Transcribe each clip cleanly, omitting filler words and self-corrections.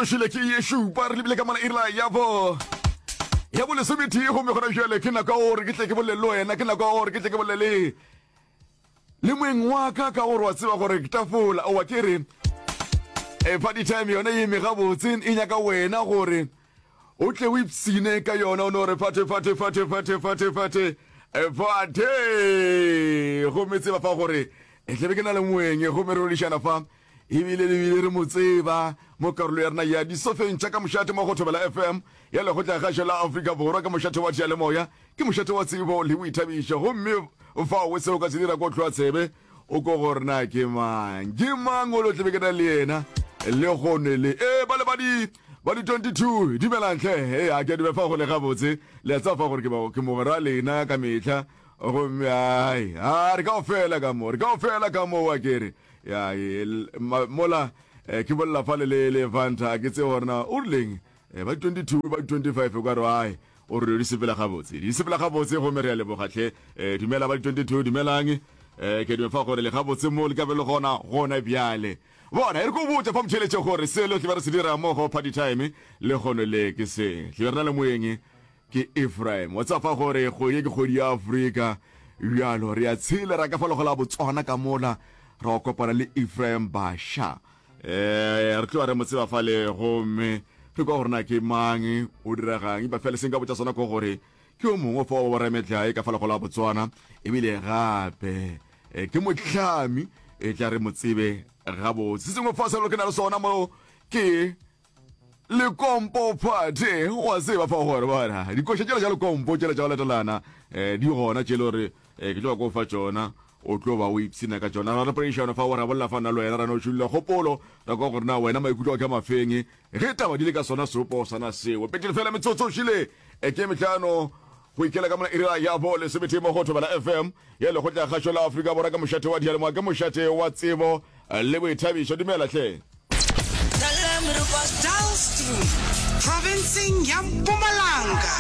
Šele ke ye šupa re lebile ka mola iri la ya bo ya bo lesometee gomme gona bjale ke nako ya gore ke tle ke bolele le wena, ke nako ya gore ke tle ke bolele le moeng wa ka ka gore wa tseba gore tafola owa ke re e party time yone e eme gabotse e nyaka wena gore o tle o ipsine ka yona o no re fate fate fate fate fate fate fate gomme tseba fa gore e tlebe ke na le moeng gomme re rodišana fa Ebile le bile re mo tseba mo karolo ya rena ya disofeng tša ka mošate mo go Thobela FM ya Lekgotlakgašo la Afrika Borwa ka mošate wa diyalemoya. Ke mošate wa tsebo le boithabišo gomme fao seo o ka se dira ko hloa tsebe o ko gore na ke mang ke mang o lo tlebe ke na le yena lehono le. Ee ba le ba di ba di 22 dumelang hle. Ee a ke a dumela fa go le gabotse le a tseba fa gore ke ke mogwera lena ka mehla gomme ai a re kaofela ka mo re kaofela ka mo wa kere ya e, mola eh, ke bolela fale le le Fanta ke tsebe gore na o rileng eh, ba 22 ba 25 o ka re ai o re di sepela gabotse di sepela gabotse gomme re a leboga tlhe eh, dumela ba 22 dumelang eh, ke dume fa gore le gabotse mo le ka be le gona gona bjale bona e re ko botša fa motheletše gore selo tle ba re se dira mo go party time le kgono le ke se tle re na le moeng Ke Ephraim. Wa tseba fa gore kgwedi ye ke kgwedi ya Afrika. Bjalo re a tshela ra ka fa logo la Botswana ka mola ra go kopana le Ephraim Basha. Eh, re tloga re mo tseba fale gomme re kwa gore na ke mang, o diregang. Empa fela se nka botša sona ke gore ke yo mongwe fa wa borametlae ka fa logo la Botswana ebile gape eh, ke mohlami e tla re mo tsebe gabotse. Se sengwe fa selo ke na le sona mo ke Lekompo Party wa tseba fa gore bona dikoša tšela tša lekompo tšela tša go latelana um di gona tše le gore um ke tlo ba ko fa tšona o tlo ba o ipshina ka tšona ra re poledišano fa o ra bolela fa nna le wena ra no tšhulla kgopolo ra kwa gore na wena maikutlo a ka mafeng ge taba di le ka sona seopo sana seo petele fela metsotso šile e ke metlhano go ikela ka mona ira ya bo lesometee mo go Thobela FM ya lekgotla kgašo la Afrika Borwa ka mošate wa diyalemoya ke mošate wa tsebo le boithabišo. Dumela hle. Dullstroom, profenseng ya Mpumalanga,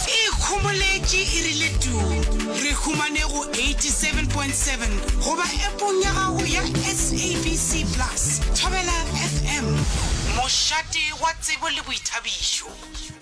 e ikhomoletše e rile tuu. Re humane go 87.7 goba epong ya gago ya SABC Plus. Thobela FM, mošate wa tsebo le boithabišo.